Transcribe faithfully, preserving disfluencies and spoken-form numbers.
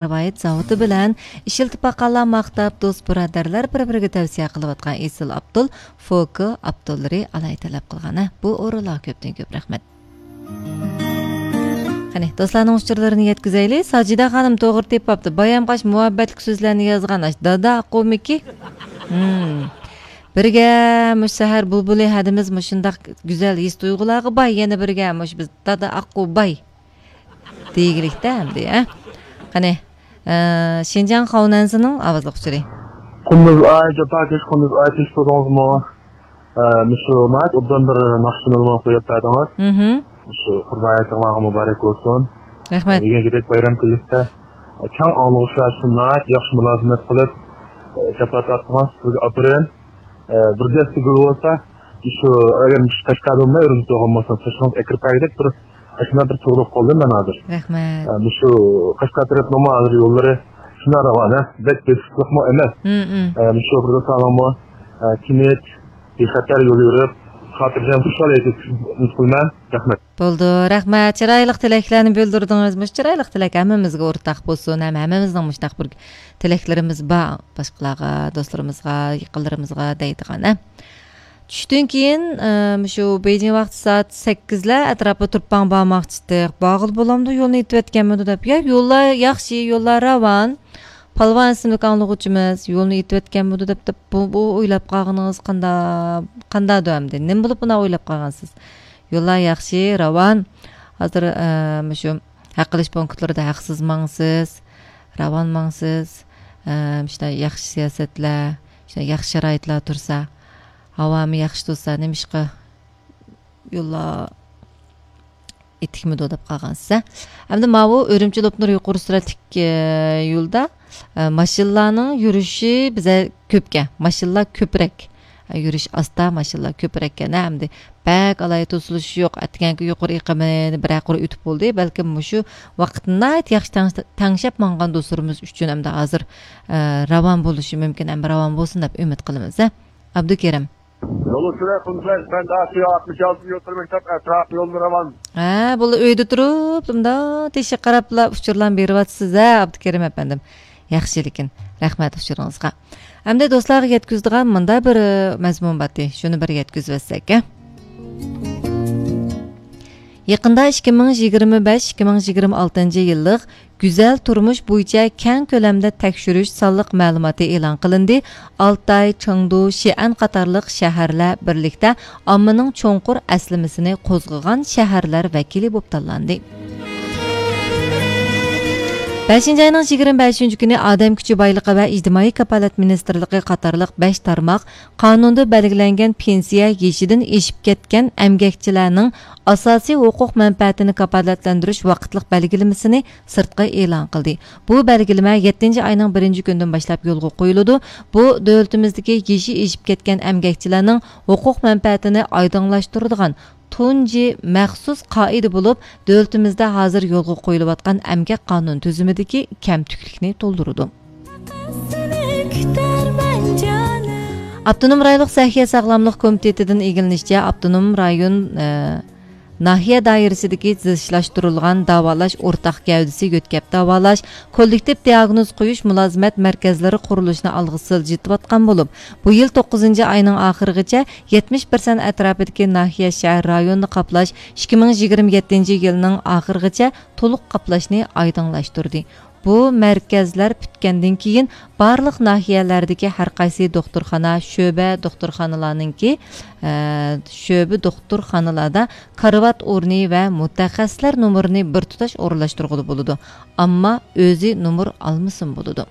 رىۋايەت زاۋۇتى بىلەن ئىشلىتىپ باققانلار ماختاپ، دوست-بۇرادەرلەر بىر-بىرىگە تەۋسىيە قىلىۋاتقان ئېسىل ئابدۇل، فوكو ئابدۇللىرى ئالاھىدە تەلەپ قىلغان. ھە، بۇ ئورۇنلارغا كۆپتىن كۆپ رەھمەت. قېنى، دوستلارنىڭ ئۇچۇرلىرىنى يەتكۈزەيلى. ساجىدە خانىم توغرا تېپىپتۇ. بايام قاش مۇھەببەتلىك سۆزلەرنى يازغان ئاش دادا ئاققۇمىكى؟ ھىم. بىرگە مۇشۇ سەھەر بۇلبۇلى ھەدىمىز مۇشۇنداق گۈزەل ھېس تۇيغۇلارغا باي، يەنە بىرگە مۇشۇ بىز دادا ئاققۇ باي. دېگىلىكتە ئەمدى، ھە؟ قېنى، ئە، شىنجاڭ خاۋنەنسىنىڭ ئاۋازلىق ئۇچۇرى. قۇندۇز ئاي، جاپاكەش قۇندۇز ئاي، تىنچ تۇردىڭىزمۇ؟ ئە، مۇشۇ ناھايىتى ئوبدان بىر ناخشىنى ماڭا قويۇپ بەردىڭىز. مھم. مۇشۇ قۇربان ھېيتىڭلارغا مۇبارەك بولسۇن. رەھمەت. دېگەندەك بايرام كۈنلۈكتە، ئە، كەڭ ئاڭلىغۇچىلار ئۈچۈن ناھايىتى ياخشى مۇلازىمەت قىلىپ، ئە، چاپلار تارتتىڭىز. سىزگە ئاپىرىن. ئە، بىر دەستە گۈل بولسا، شۇ، ئەگەر مۇشۇ قەشقەردە بولماي، ئۈرۈمچىدە بولمىسا، سېچىڭىز ئەكىرىپ بەرگۈدەك بىر ئاشۇنداق بىر تۇغلۇق قالدىم مەن ھازىر. رەھمەت. ئە، مۇشۇ قەشقەر تەرەپنىڭمۇ ھازىر يوللىرى شۇنداق راۋان، ھە؟ بەك بېسىقلىقمۇ ئەمەس. مم، مم. ئە، مۇشۇ بىر ساغلاممۇ، ئە، تىنچ، بىخەتەر يول يۈرۈپ، خاتىرجەم، خۇشال يەتكۈزۈپ ئۈمىد قىلىمەن. رەھمەت. بولدى، رەھمەت. چىرايلىق تىلەكلەرنى بىلدۈردىڭىز. مۇشۇ چىرايلىق تىلەك ھەممىمىزگە ئورتاق بولسۇن، ھەم ھەممىمىزنىڭ مۇشۇنداق بىر تىلەكلىرىمىز بار. باشقىلارغا، دوستلىرىمىزغا، يېقىنلىرىمىزغا دەيدىغان، ھە. چۈشتىن كېيىن، ئە، مۇشۇ بېيجىڭ ۋاقتى سائەت سەككىزلەر ئەتراپىدا تۇرۇپ باڭ بارماقچىدۇق. بارغىلى بولامدۇ، يولنى ئېتىۋەتكەنمىدۇ دەپ. يا، يوللار ياخشى، يوللار راۋان. پالۋان ئىسىملىك ئاڭلىغۇچىمىز يولنى ئېتىۋەتكەنمىدۇ دەپ، دەپ، بۇ، بۇ ئويلاپ قالغىنىڭىز قاندا-، قانداقدۇ ئەمدى؟ نېمە بولۇپ بۇنداق ئويلاپ قالغانسىز؟ يوللار ياخشى، راۋان. ھازىر، ئە، مۇشۇ ھەق ئېلىش پونكىتلىرىدا ھەقسىز ماڭىسىز، راۋان ماڭىسىز. ئە، شۇنداق ياخشى سىياسەتلەر، شۇنداق ياخشى شارائىتلار تۇرسا، ھاۋامۇ ياخشى تۇرسا، نېمىشقا يوللار ئېتىكمىدۇ دەپ قالغانسىز، ھە؟ ئەمدى ماۋۇ ئۈرۈمچى لوپنۇر يۇقىرى سۈرئەتلىك، ئە، يولدا، ئە، ماشىنىلارنىڭ يۈرۈشى بىزە كۆپكەن، ماشىنىلار كۆپرەك. ئە، يۈرۈش ئاستا، ماشىنىلار كۆپرەككەن، ھە؟ ئەمدى بەك ئالاھىدە توسۇلۇش يوق، ئەتىگەنكى يۇقىرى ئېقىمىنى بىرەر قۇر ئۆتۈپ بولدى. بەلكىم مۇشۇ ۋاقىتتا ناھايىتى ياخشى تەڭ-، تەڭشەپ ماڭغان دوستلىرىمىز ئۈچۈن ئەمدى ھازىر، ئە، راۋان بولۇشى مۇمكىن، ئەمدى راۋان بولسۇن دەپ ئۈمىد قىلىمىز، ھە؟ ئابدۇكېرىم. يول ئۈستىدە قۇمساي، مەن داسى ئاتمىش ئالتىنچى يول مەكتەپ ئەتراپ يوللىرى راۋان. ھە، بۇلا ئۆيدە تۇرۇپ، مۇنداق تېشىغا قاراپلا ئۇچۇرلارنى بېرىۋاتىسىز، ھە، ئابدۇكېرىم ئەپەندىم. ياخشى، لېكىن رەھمەت ئۇچۇرىڭىزغا. ئەمدى دوستلارغا يەتكۈزىدىغان مۇنداق بىر، ئە، مەزمۇن بارتى. شۇنى بىر يەتكۈزۈۋەتسەك، ھە. يېقىندا ئىككى مىڭ يىگىرمە بەش، ئىككى مىڭ يىگىرمە ئالتىنچى يىللىق گۈزەل تۇرمۇش بويىچە كەڭ كۆلەمدە تەكشۈرۈش سانلىق مەلۇماتى ئېلان قىلىندى. ئالتاي، چېڭدۇ، شىئەن قاتارلىق شەھەرلەر بىرلىكتە ئاممىنىڭ چوڭقۇر ئەسلىمىسىنى قوزغىغان شەھەرلەر ۋەكىلى بولۇپ تاللاندى. بەشىنچى ئاينىڭ يىگىرمە بەشىنچى كۈنى ئادەم كۈچى بايلىقى ۋە ئىجتىمائىي كاپالەت مىنىستىرلىقى قاتارلىق بەش تارماق قانۇندا بەلگىلەنگەن پېنسىيە يېشىدىن ئېشىپ كەتكەن ئەمگەكچىلەرنىڭ ئاساسىي ھوقۇق مەنپەئەتىنى كاپالەتلەندۈرۈش ۋاقىتلىق بەلگىلىمىسىنى سىرتقا ئېلان قىلدى. بۇ بەلگىلىمە يەتتىنچى ئاينىڭ بىرىنچى كۈنىدىن باشلاپ يولغا قويۇلىدۇ. بۇ دۆلىتىمىزدىكى يېشى ئېشىپ كەتكەن ئەمگەكچىلەرنىڭ ھوقۇق مەنپەئەتىنى ئايدىڭلاشتۇرىدىغان تۇنجى مەخسۇس قائىدە بولۇپ، دۆلىتىمىزدە ھازىر يولغا قويۇلۇۋاتقان ئەمگەك قانۇن تۈزۈمىدىكى كەمتۈكلۈكنى تولدۇرىدۇ. ئاپتونوم رايونلۇق سەھىيە ساغلاملىق كومىتېتىدىن ئىگىلىنىشىچە، ئاپتونوم رايون، ئە، ناھىيە دائىرىسىدىكى زىچلاشتۇرۇلغان داۋالاش ئورتاق گەۋدىسى يۆتكەپ داۋالاش، كوللېكتىپ دىئاگنوز قويۇش مۇلازىمەت مەركەزلىرى قۇرۇلۇشىنى ئالغا سىلجىتىۋاتقان بولۇپ، بۇ يىل توققۇزىنچى ئاينىڭ ئاخىرىغىچە يەتمىش پىرسەنت ئەتراپىدىكى ناھىيە، شەھەر، رايوننى قاپلاش، ئىككى مىڭ يىگىرمە يەتتىنچى يىلنىڭ ئاخىرىغىچە تولۇق قاپلاشنى ئايدىڭلاشتۇردى. بۇ مەركەزلەر پۈتكەندىن كېيىن، بارلىق ناھىيەلەردىكى ھەر قايسى دوختۇرخانا، شۆبە دوختۇرخانىلارنىڭكى، ئە، شۆبە دوختۇرخانىلاردا كارىۋات ئورنى ۋە مۇتەخەسسىسلەر نومۇرىنى بىر تۇتاش ئورۇنلاشتۇرغىلى بولىدۇ. ئامما ئۆزى نومۇر ئالمىسىمۇ بولىدۇ.